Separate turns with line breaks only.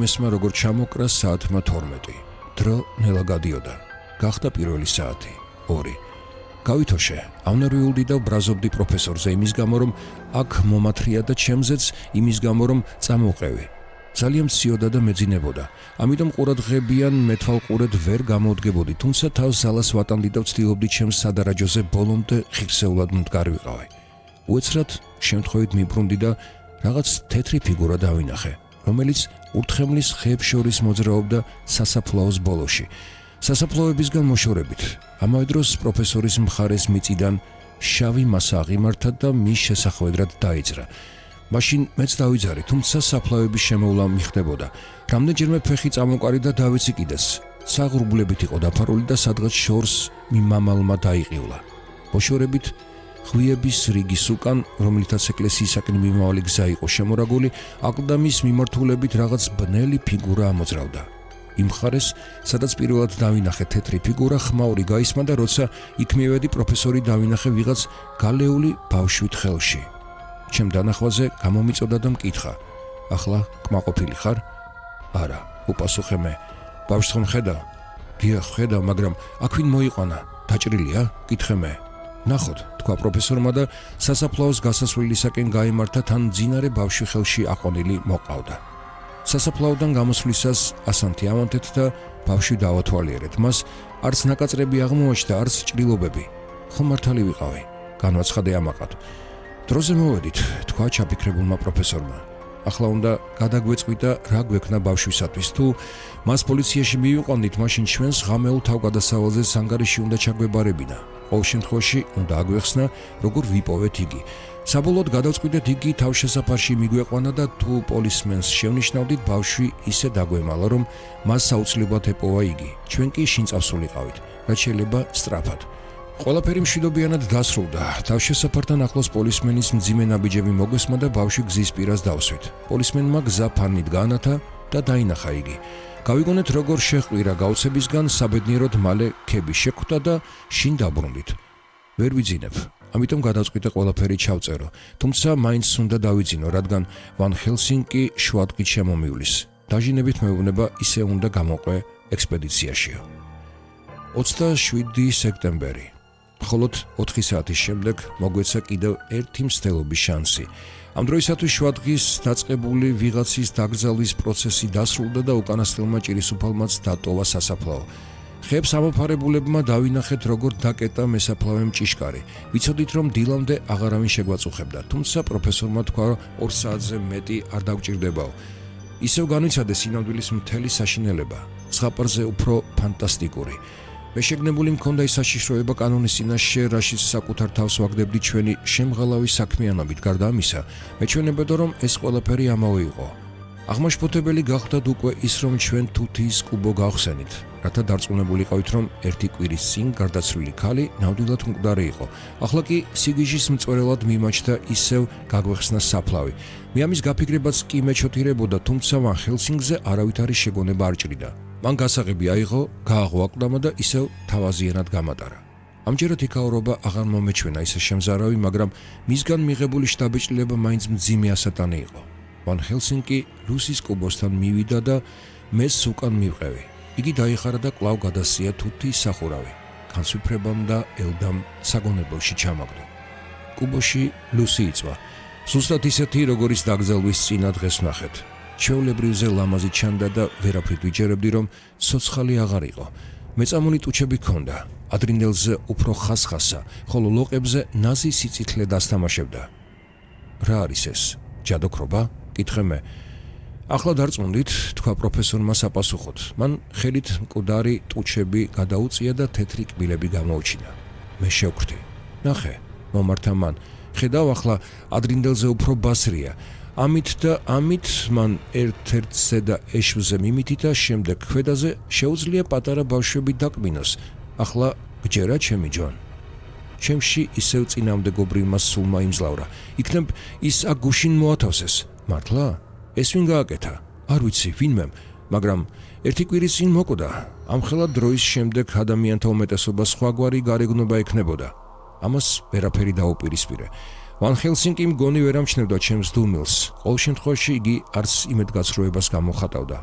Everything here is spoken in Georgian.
ემესმა როგორ ჩამოკრა საათმა 12. დრო ნელა გადიოდა. გახდა პირველი საათი 2. გავითოშე, ავნერვიულდი და ბრაზობდი პროფესორზე იმის გამო, რომ აქ მომათრია და ჩემზეც იმის გამო, რომ წამოვყევი. ძალიან მციოდა და მეძინებოდა. ამიტომ ყურადღებიან მეთვალყურედ ვერ გამოვდგებოდი, თუმცა თავს ზალას ვატანდი და ვცდილობდი ჩემს სადარაჯოზე ბოლომდე ხირსეულად მდგარ ვიყავი. უეცრად შემთხვევით მიბრუნდი და რაღაც თეთრი ფიგურა დავინახე, რომელიც ურთხემლის ხეებს შორის მოძრაობდა სასაფლაოს ბოლოში. სასაფლაოებისგან მოშორებით, ამავე დროს პროფესორის მხარეს მიწიდან შავი მასა აღიმართა და მის შესახვედრად დაიძრა. მაშინ მეც დავიძარი, თუმცა საფლავების შემოვლა მიხდებოდა. რამდენჯერმე ფეხი წამოყარი და დავიცი კიდეს. საღრუბლებით იყო დაფარული და სადღაც შორს მიმამალმა დაიყივლა. მოშორებით ხვიების რიგის უკან, რომლითაც ეკლესიისაკენ მიმავალი გზა იყო შემორაგული, აკლდამის მიმართულებით რაღაც ბნელი ფიგურა ამოძრავდა. იმ მხარეს, სადაც პირველად დავინახე თეთრი ფიგურა, ხმაური გაისმა და როცა იქ მივედი, პროფესორი დავინახე ვიღაც გალეული ბავშვით ხელში. ჩემ დანახვაზე გამომიწოდა და მკითხა: ახლა კმაყოფილი ხარ? არა, უპასუხე მე. ბავშვს ხომ ხედავ? დიახ, ხედავ, მაგრამ აქ ვინ მოიყვანა? დაჭრილია? კითხე მე. ნახოთ, თქვა პროფესორმა და სასაფლაოს გასასვლელისაკენ გაიმართა, თან მძინარე ბავშვი ხელში აყვანილი მოყავდა. სასაფლაოდან გამოსვლისას ასანთი ავანთეთ და ბავშვი დავათვალიერეთ. მას არც ნაკაწრები აღმოაჩნდა, არც ჭრილობები. ხომ მართალი ვიყავი? განვაცხადე ამაყად. დროზე მოვედით, თქვა ჩაფიქრებულმა პროფესორმა. ახლა უნდა გადაგვეწყვით და რა გვექნა ბავშვისათვის. თუ მას პოლიციაში მივიყვანდით, მაშინ ჩვენს ღამეულ თავგადასავალზე სანგარიში უნდა ჩაგვებარებინა. ყოველ შემთხვევაში უნდა აგვეხსნა, როგორ ვიპოვეთ იგი. საბოლოოდ გადავწყვიტეთ, იგი თავშესაფარში მიგვეყვანა და თუ პოლისმენს შევნიშნავდით, ბავშვი ისე დაგვემალა, რომ მას საუცლებლად ეპოვა იგი. ჩვენ კი შინწავსულიყავით, რაც შეიძლება სწრაფად. ყველაფერი მშვიდობიანად დასრულდა. თავშესაფართან ახლოს პოლისმენის მძიმე ნაბიჯები მოგვესმა და ბავშვი გზის პირას დავსვით. პოლისმენმა გზა ფანით გაანათა და დაინახა იგი. გავიგონეთ, როგორ შეჰყვირა გაუცებისგან, საბედნიეროდ მალე ქები შეხვდა და შინ დაბრუნდით. ვერ ვიძინებ. ამიტომ გადავწყვიტე ყველაფერი ჩავწერო. თუმცა მაინც უნდა დავიძინო, რადგან ვან ჰელსინკი შუადღით შემომივლის. დაჟინებით მეუბნება, ისე უნდა გამოყვე ექსპედიციაშიო. 27 სექტემბერი. მხოლოდ 4 საათის შემდეგ მოგვეცა კიდევ ერთი მცდელობის შანსი. ამ დროისათვის შუადღის დაწყებული ვიღაცის დაკრძალვის პროცესი დასრულდა და უკანასკნელმა ჭირისუფალმაც დატოვა სასაფლაო. ხეებს ამოფარებულებმა დავინახეთ, როგორ დაკეტა მესაფლავემ ჭიშკარი. ვიცოდით, რომ დილამდე აღარავინ შეგვაწუხებდა, თუმცა პროფესორმა თქვა, 2 საათზე მეტი არ დაგვჭირდებაო. ისევ განვიცადე სინამდვილის მთელი საშინელება, ზღაპარზე უფრო ფანტასტიკური. მე შეგნებული მქონდა ის საშიშროება კანონის წინაშე, რაშიც საკუთარ თავს ვაგდებდი ჩვენი შემღალავი საქმიანობით. გარდა ამისა, მეჩვენებოდა, რომ ეს ყველაფერი ამავე იყო. აღმაშფოთებელი გახდათ უკვე ის, რომ ჩვენ თუთიის კუბო გავხსენით, რათა დარწმუნებულიყავით, რომ ერთი კვირის წინ გარდაცვლილი ქალი ნამდვილად მკვდარი იყო. ახლა კი სიგიჟის მწვერელად მიმაჩნდა ისევ გაგვეხსნა საფლავი. მე ამის გაფიქრებაც კი მეჩოთირებოდა, თუმცა ვან ჰელსინგზე არავითარი შეგონება არ ჭრიდა. მან გასაღები აიღო, გააღვაკლდამა და ისევ თავაზიანად გამატარა. ამჯერად იქაურობა აღარ მომეჩვენა ისე შემზარავი, მაგრამ მისგან მიღებული შთაბეჭდილება მაინც მძიმე ასატანი იყო. ვან ჰელსინკი ლუსის კუბოსთან მივიდა და მეც უკან მივყევი. იგი დაიხარა და კვლავ გადასია თუთიის სახურავი. განსვიფრებამ და ელდამ საგონებელში ჩამაგდო. კუბოში ლუსი იწვა. ზუსტად ისეთი, როგორიც დაკრძალვის წინა დღეს ვნახეთ. ჩვეულებრივზე ლამაზი ჩანდა და ვერაფრით ვიჯერებდი, რომ ცოცხალი აღარ იყო. მეწამული ტუჩები ჰქონდა. ადრინდელზე უფრო ხასხასა, ხოლო ლოყებზე ნაზი სიწითლე დასთამაშებდა. რა არის ეს? ჯადოქრობა? კითხე მე. ახლა დარწმუნდით, თქვა პროფესორმა საპასუხოდ. მან ხელით მკვდარი ტუჩები გადაუწია და თეთრი კბილები გამოუჩინა. მე შევხვდი. ნახე, მომართა მან. ხედავ, ახლა ადრინდელზე უფრო ბასრია. ამით და ამით მან ერთ-ერთზე და ეშვზე მიმითითა, შემდეგ ქვედაზე შეუძლია პატარა ბავშვები დაკბინოს. ახლა გჯერა, ჩემი ჯონ. ჩემში ისევ წინამდებობრივმა სულმა იმძლავრა. იქნებ ის აქ გუშინ მოათავსეს. მართლა? ეს ვინ გააკეთა? არ ვიცი, ვინმემ, მაგრამ ერთი კვირის წინ მოკვდა. ამხელა დროის შემდეგ ადამიანთა უმეტესობა სხვაგვარი გარეგნობა ექნებოდა. ამას ვერაფერი დაუპირისპირე. ვან ჰელსინკი მგონი ვერ ამჩნევდა ჩემს დუმილს. ყოველ შემთხვევაში იგი არც იმედგაცრუებას გამოხატავდა.